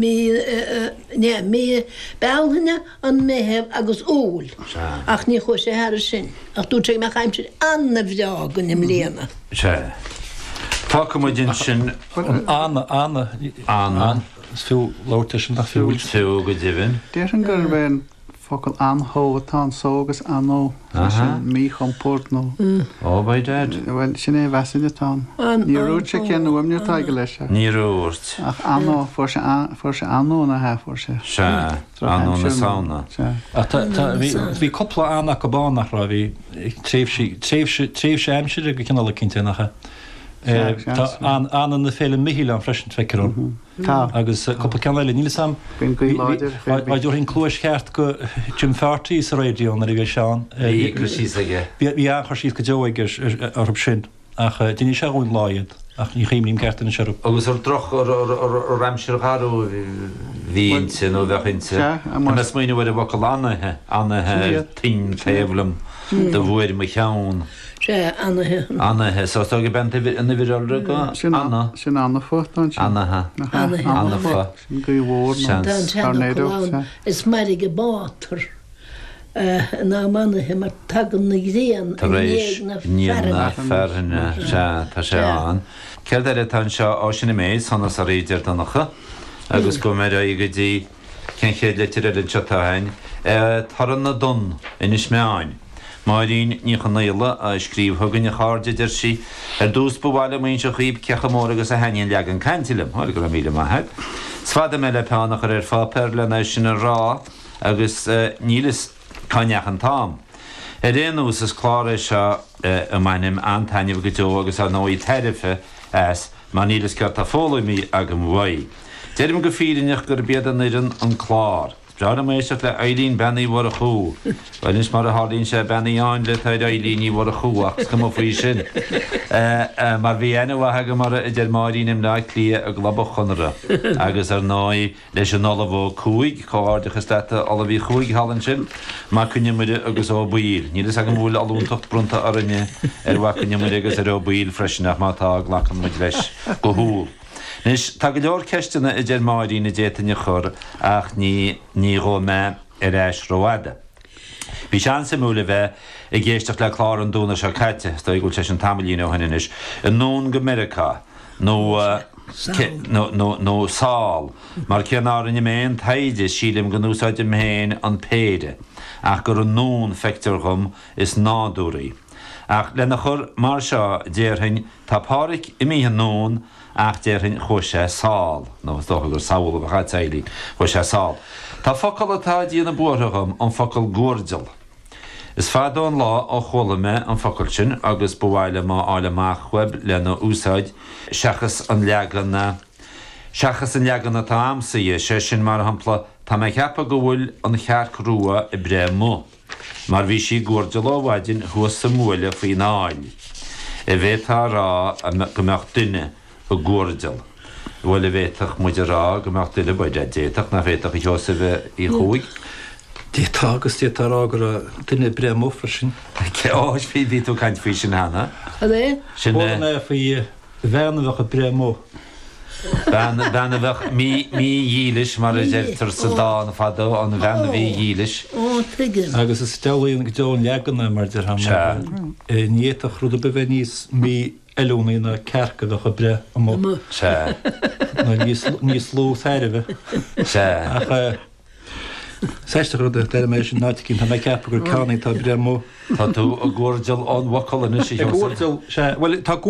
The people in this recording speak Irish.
Mí, mí Bealtaine, an Meitheamh agus Iúil. Sea. Ach ní chuaigh sé thairis sin. Ach dúirt sé go mbeadh aimsir ana-bhreá againn i mbliana. Sea. Fágfaidh muid ansin. Ana, ana, Ana. Is fiú labhairt air sin, nach fiú? Is fiú go deimhin. Déarfainn gurb é an focal anshó atá anso agus anó, sé sin míchompord nó. Oh, by dad. Bhuel, sin é a mheasfainn atá ann. Níor dhúirt sé cén fhuaimniú atá aige leis ach. Níor dhúirt. Ach anó, fuair sé, fuair sé anó ina hea, fuair sé. Sea, anó na Samhna. Sea. Ach tá, tá, bhí, bhí cúpla an acu ann, nach raibh, bhí tréimhsí, tréimhse, tréimhse aimsire go cineál eicínt é, nach ea? Sea, sea, Tá sea. an, ana na Féile Michíl ann freisin, feictear dom. Tá. Agus cúpla ceann eile. Níl 'fhios a'm. Bíonn gaoth láidir. Dá dtabharfainn cluais cheart go Jim Farty sa raidió nuair a bhí sé ann. Bhí cur síos aige. Bhí an-chur síos go deo aige orthu sin. Ach d'inis sé dhúinn lá iad. Ach ní chuimhním ceart anois orthu. Agus ar droch, ar aimsir gharbh a bhí inti nó a bheadh inti. Tá mé ag smaoineamh ar an bhfocal anaithe, anaithe ar toinn taobh liom do bhuair mo cheann. Sea, anaithe. Anaithe. So is dóigh gurb é an uimhir iolra go Sin ana. Sin anfa atá ansin. Anaithe. Anaithe. Anfa. Sin gaoth mhór nó Tá an tornado. seanfhocal ann, is mairg an bátar in am anaithe mar tagann na ghrian i Tar éis ndiaidh na ndiaidh na fearthainne. fearthainne. Sea, tá sé ann. Céard eile atá anseo? Ó, sin an méid, sonas oraibh, a deir Donncha. Agus gabhfaidh mé ar aghaidh go dtí cén chéad litir eile anseo atá againn? Torann na dTonn, Inis Meáin. Máirín Ní Chonaola a scríobh chugainn, a chairde, a deir sí. Ar dtús ba mhaith liom a inse dhaoib cé chomh mór agus a thaitníonn leagan cainte liom. Bhuel, go raibh míle maith agat. Is fada mé le peann a chur ar pháipéar len é sin a rá agus níl fhios cá ndeachaigh an t-am. Ar aon nós, is clár é seo a mbainim an-taitneamh go deo agus ar ndóigh tairbhe as mar níl fhios céard tá foghlamtha agam uaidh. Deirim go fírinneach gurb iad an fhoireann an clár. Is breá liom éisteacht le Eileen Bean Uí Mhurchú. Bhuel anois mar a tharlaíonn sé Bean Uí Áinle atá ar Eileen Ní Mhurchú ach is cuma faoi sin. Mar bhí aithne mhaith agam uirthi a deir Máirín i mBleá Cliath i gClub an Chonartha. Agus ar ndóigh leis an Ollamh Ó Cuaig, comhghairdeachas leat a Ollamh Uí Chuaig thall ansin, Mac Con Iomaire agus Ó Baoill. Níl fhios agam an bhfuil ollúntacht bronnta orainne ar Mhac Con Iomaire agus ar Ó Baoill freisin ach má tá glacann muid leis go humhal. Anois, tá go leor ceisteanna a deir Máirín a d'fhéadfainn a chur ach ní ní ghabhfaidh mé ar ais rófhada. Bhí sé an-suimiúil a bheith ag éisteacht le clár an Domhnach seo caite, is dóigh go bhfuil sé sin tamaillín ó shin anois, Anonn go Meiriceá, nó nó nó nó sall, mar cé nár rinne mé aon taighde, sílim go n-úsáidim féin an péire, ach gur anonn feictear dhom is nádúraí. Ach lena chur mar seo, déarfainn, Tá Pádhraic imithe anonn ach déarfainn chuaigh sé sall, nó is dócha gur sall a bheadh a'd Eileen, chuaigh sé sall. Tá focal atá ag déanamh buartha dhom, an focal guairdeall. Is fada an lá ó chuala mé an focal sin agus ba mhaith liom a fháil amach uaibh lena úsáid seachas an leagan seachas an leagan atá a'msa dhe, sé sin mar shampla tá mé ag ceapadh go bhfuil an chearc rua ag breith amuigh. Mar bhí sí ag guairdeall ó mhaidin thuas sa mbuaile faoin aill. An bhféadfá a rá go mbeadh duine ag guairdeall? Bhuel, an bhféadfadh muid a rá go mbeadh duine, bhuel, d'fhéadfadh, nach bhféadfadh, a Sheosaimh Uí Chuaig? D'fhéadfá agus d'fhéadfá a rá go raibh duine ag breith amuigh freisin. Ó, bhí tú ag caint faoi sin cheana. Cad é? Sin Chuala mé faoi Bhean a bheadh ag breith amuigh. Bean, bean a bheadh mí, mídhílis mar a deirtear sa dán fadó, an bhean mhídhílis. Ó, tuigim. Agus is diabhlaí go deo an leagan é, mar a déarfá, Sea. ní fhéadfadh rud ar bith bheith níos mífheiliúnaí ná cearc a bheadh ag breith amuigh. Sea. Nó níos, níos lú tairbhe. Sea. Ach is aisteach an rud é, d'airigh mé sin in áit eicínt, tá mé ag ceapadh gur ceann é atá ag breith amuigh. Tá tú ag guairdeall ón bhfocal anois, a Ag Sheosaimh. guairdeall, sea. Bhuel, tá guairdeall.